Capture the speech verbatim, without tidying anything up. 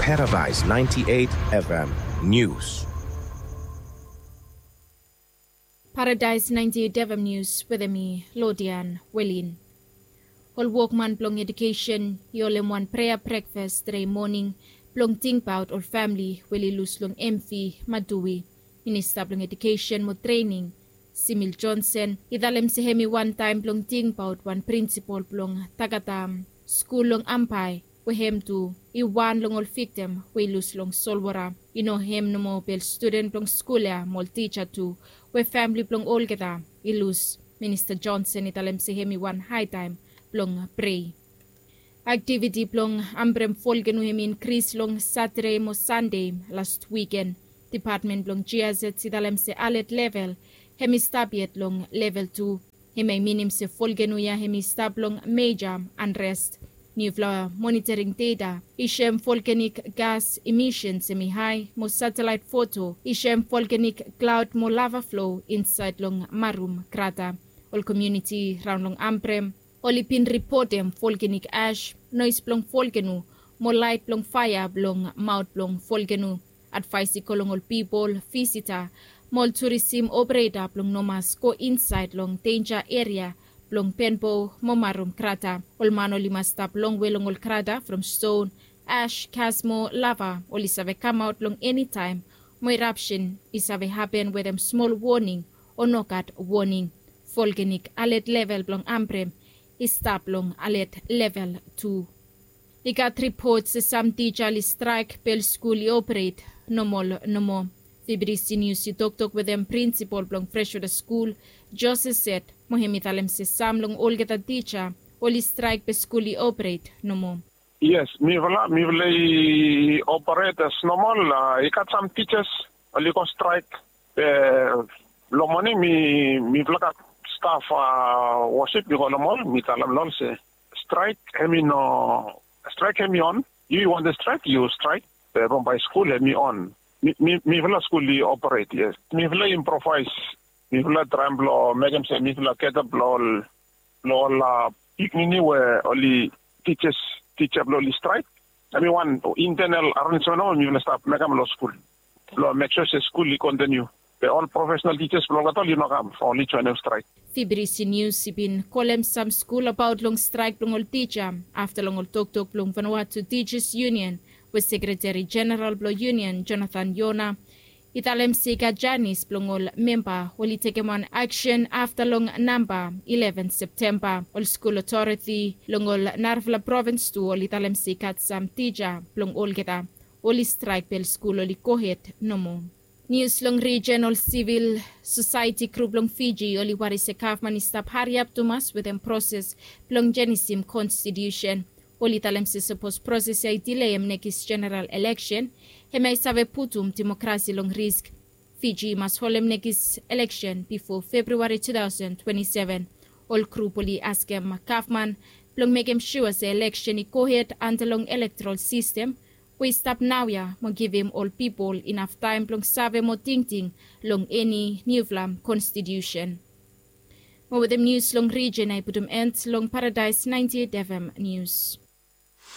Paradise ninety-eight F M News. Paradise ninety-eight F M News wetem mi, Lodian Welin. Ol wokman blong edukesen i holem wan prea brekfas tede moning blong tingbaot ol famili we oli lus long M V Madui. Minista blong Edukesen mo Trening, Simil Johnson, i talem se hem i wantaem blong tingbaot wan prinsipol blong Tagatam skul long Ambae, we hem tu i wan long ol viktim we i lus long solwota. I no hem nomo be ol studen blong skul ya mo ol tija tu, we famili blong olgeta i lus. Minista Johnson i talem se hem i wan haetaem blong prei. Aktiviti blong ambrem folgenu hem i inkris long Satade mo Sande las wiken. Dipatmen blong G I Z i talem se alet level hem i stap yet long level tu. Hem ya i minim se folgenu ya hem i stap long meja anrest. Niufala monitoring data i soem volkanik gas emisens hem i hae, mo satelaet foto i soem volkanik klaod mo lava flo insaed long Marum krata. Ol komuniti raon long Ambrem oli bin ripotem volkanik ash, noes blong folgenu, mo laet blong faea blong maot blong folgenu. Advaes i go long ol pipol, visita mo ol turisim opereta blong no mas go insaed long denja eria blong Penbo mo Marum krata. Ol man oli mas stap longwe long ol krata from ston, ash, gas mo lava oli save kamaot long enitaem, mo erapsen i save hapen wetem smol woning o nogat woning. Volkanik alet level blong Ambrem i stap long alet level tu. I gat ripot se sam tija oli straek be ol skul i operet nomol nomo. Fibidisi Nius i toktok wetem prinsipol blong Freshwater Skul, Jose Set, mo hem i talem se sam long olgeta tija oli straek be skul i operet nomo. Yes, mifala mifala i operet as nomol. I gat sam tijas oli go straek be long moning mi mifala gat staf wosip mi go long ol mi talem long ol se straek hem i no, straek hem i on. Yu i wantem straek yu straek. Be bambae skul hem i on. Mifala skul i operet, yes. Mifala i improvaes. Mifala traem blong mekem se mifala geta blong ol blong ol piknini we oli tijas tija blong oli straek. Hem i wan intenel arenjmen we mifala stap mekem long skul blong mek sua se skul i kontiniu. Be ol profesenal tijas blong olgeta oli no kam, oli joenem straek. Fibidisi Nius i bin kolem sam skul abaot long straek blong ol tija afta long ol toktok blong Vanuatu Tijas Yunion, we Sekreteri Jeneral blong Yunion, Jonathan Yona, i talem se i gat janis blong ol memba oli tekem wan aksen afta long namba ileven Septemba. Ol skul otoriti long ol narafala provins tu oli talem se i gat sam tija blong olgeta oli straek be ol skul oli gohed nomo. Nius long rijen, ol sivil sosaeti grup long Fiji oli wari se gavman i stap hariap tumas wetem proses blong jenisim konstitiusen. Oli talem se sapos proses ya i dileim nekis jeneral eleksen, hemia i save putum demokrasi long risk. Fiji i mas holem nekis eleksen bifo Februari tu taosen twenti seven. Ol grup oli askem gavman blong mekem sua se eleksen i gohed anta long elektorol sistem we i stap naoia mo givim ol pipol inaf taem blong save mo tingting long eni niufala konstitiusen. Mo wetem nius long rijen ya i putum en long Paradaes naenti et F M nius.